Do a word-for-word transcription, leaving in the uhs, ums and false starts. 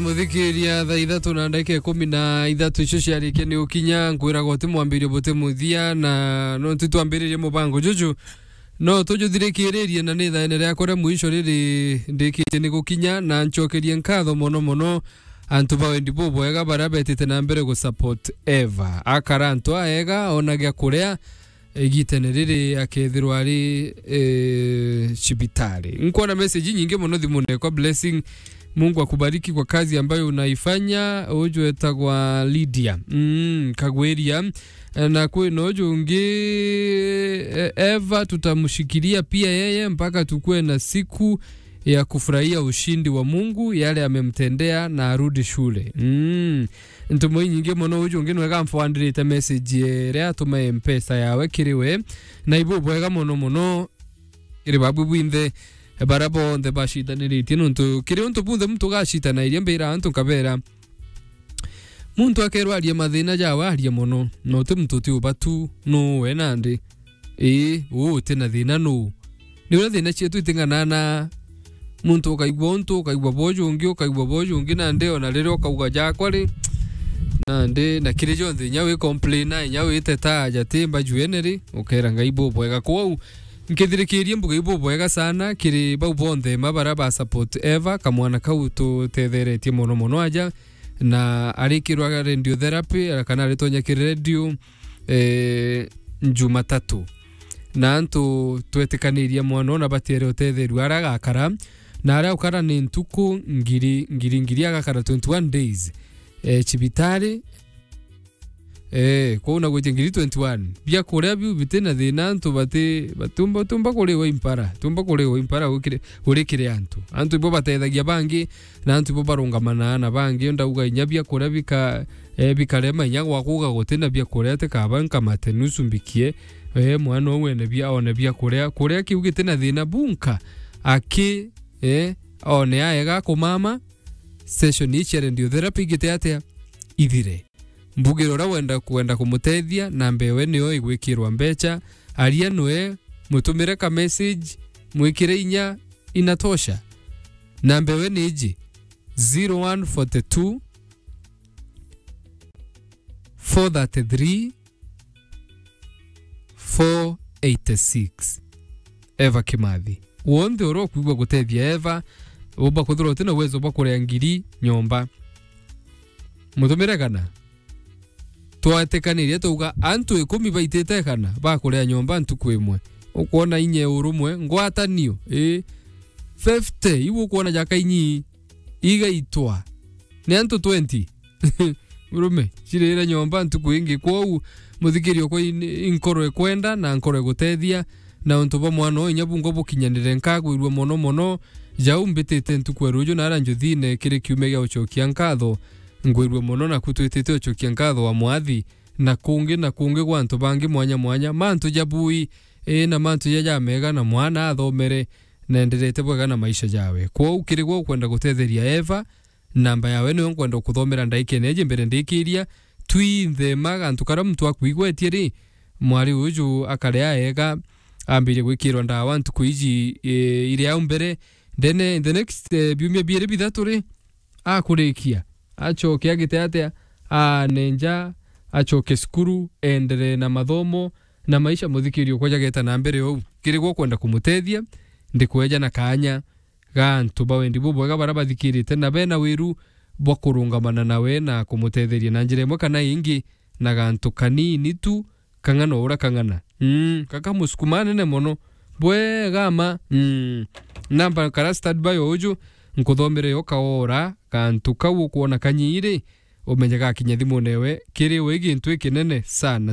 Muthikiria, thaa ithatu na ndagika ikumi na ithatu icio ciarikia ni gukinya, nkwiraga uti mwambirio buti muthia, na nontu twambiririe mubango juju, no tujuthirikiririe, na ni thaene riakwa ria mwisho riri ndikitie ni gukinya, na ncokerie nkatho mono mono antu ba wendi bubwega baria betite na mbere gu support Eva. Akara antu aega, ona gia kuria, igitene riri akethirwa ari, eh, cibitari. Nkwona message nyingi mono thimune kwa Blessing. Mungu akubariki kwa kazi ambayo unaifanya. Uju etagwa Lydia. Mm, Kagwiria. Eh, na kwina uju ungi, eh, Eva, tutamshikilia pia yeye mpaka tukue na siku ya kufurahia ushindi wa Mungu, yale amemtendea na arudi shule. Mm. Ntumo inyingi mono, uju ungi nwega mfwandirite message iria atuma Mpesa yawe kiri we. Na ibu bwega mono mono kiri babu bwinthe, baria bonthe bacitaniritie, nontu kiri untu bunthe muntu ugacitanairia mbira antu nkabera, muntu akerwa arie mathina jawe, arie mono, na uti muntu uti ubatu nuwe nandi. Ii, uu uti na thina nuu? Ni uria thina cietu iting'anana. Muntu ukaigua untu, ukaigua boju ungi, ukaigua boju ungi, nandi ona riria ukauga jakwa ri, nandi na kiri jonthe inya wi complain, inya witeta aja ti mbajuene ri, ukera Ngai bubwega. Kwou, nkithirikirie mbuga ibubwega sana kiri bau bonthe ma baria ba support Eva, kamwana kau tutetheretie mono mono aja, na arikirwa radiotherapy, kana aritonya kiri radio, eh, Jumatatu. Na antu twetikanirie mwana ona batiere utetheru aria agakara, na aria ukara ni ntuku ngiri, ngiri, ngiri, agakara twenty-one days, eh, cibitari. Eh, kwou na gwitia ngiri twenty-one. Bia kuria biu biti na thina, antu bati, batumba, tumba kuriwa impara, tumba kuriwa impara gukire, gurikire antu. Antu ibo batethagia bangi, na antu ibo barungamanaa na bangi, ndauga inya bia kuria bika, eh, bikarema inya gwakuga guti na bia kuria, tikaba nkamate nusu mbikie, eh, mwana uu ene bia, one bia kuria, kuria kiu giti na thina bunka, aki, eh, one aega kumama, session ii cia radiotherapy igite atia? Ithire. Mbugire uria wenda, kwenda kumutethia, namba ewe niyo igwikirwa mbecha, aria nwe, mutumire ka message, mwikire inya, inatosha. Namba ewe ni iji, zero one forty two, four thirty three, four eighty six. Eva Kimathi. Wonthe uria ukwigua gutethia Eva, umba kwithirwa uti na uwezo bwa kuria ngiri nyomba, mutumire kana. Twatikanirie twauga antu ikumi baitite kana bakuria nyomba ntuku imwe. Ukwona inya urumwe, ngwatanio, ii, fifty, iu ukwona jaka inyi igaitwa ni antu twenty. Murume, cirire nyomba ntuku ingi. Kwou, muthikiria okwa in-, inkoro ikwenda na nkoro igutethia, na untu bwa mwana uyu inya bungwa bukinyanire, nkagwirua mono mono. Jau mbitite ntuku ya ruju na aria njuthine kiri kiumia gia ucokia nkatho, ngwirua mono, naku twitite ucokia nkatho wa mwathi, na kungi na kungi gwa antu bangi mwanya mwanya, mantu ja bui, ii, na mantu ja jamega, na mwana athomere, na enderete bwega na maisha jawe. Kwou kiri gwe ukwenda gutetheria Eva, namba yawe niyo nkwenda kuthomera ndaikene iji mbere ndikiria. Twinthe ma gantu karia muntu akwigwetie ri, mwari uju akare aega, ambirie gwikirwa ndawa ntuku iji, e, iri au mbere. Then, eh, in the next, eh, biumia biiri bithatu ri, akurikia, acoke agite atia, anenja, acoke cukuru, enderee na mathomo, na maisha muthikirio kwa jageta na mbere ou. Kiri gwe ukwenda kumutethia, ndikweja na kaanya ga antu ba wendi bubwega baria bathikirite na bena wiru bwa kurungamana nawe na kumutetheria na njira imwe kana ingi, na gantu kanini tu, kang'ana o uria kang'ana. Mm, kaka musukuma nene mono. Bwega ma. Mm. Namba kara standby o uju, nkuthomere yo kaora, gantu kau ukwona kanyiiri, umenye gakinya thimune ewe, kiri we gintu ikinene sana.